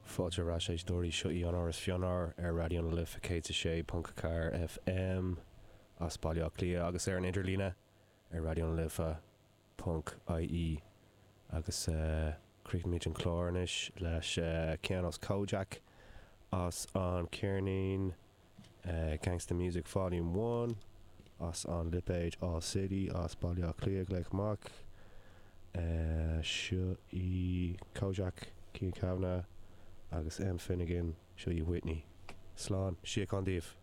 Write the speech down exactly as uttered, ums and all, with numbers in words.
Fáilte ar ais éisteoirí seo í an Áras Fionnar ar Raidió na Life céad a sé ponc ceathair FM as Baile Átha Cliath agus ar an idirlíne ar Raidió na Life ponc IE agus uh, críochnaímid an clár anois leis uh, ceann as Kojaque as an ceirnín uh, Gangsta Music Volume One as an lipéad All City as Baile Átha Cliath glaoch amach uh, seo í Kojaque Cian Kavanagh agus M Finnegan seo í Whitney. Slán síocháin daoibh.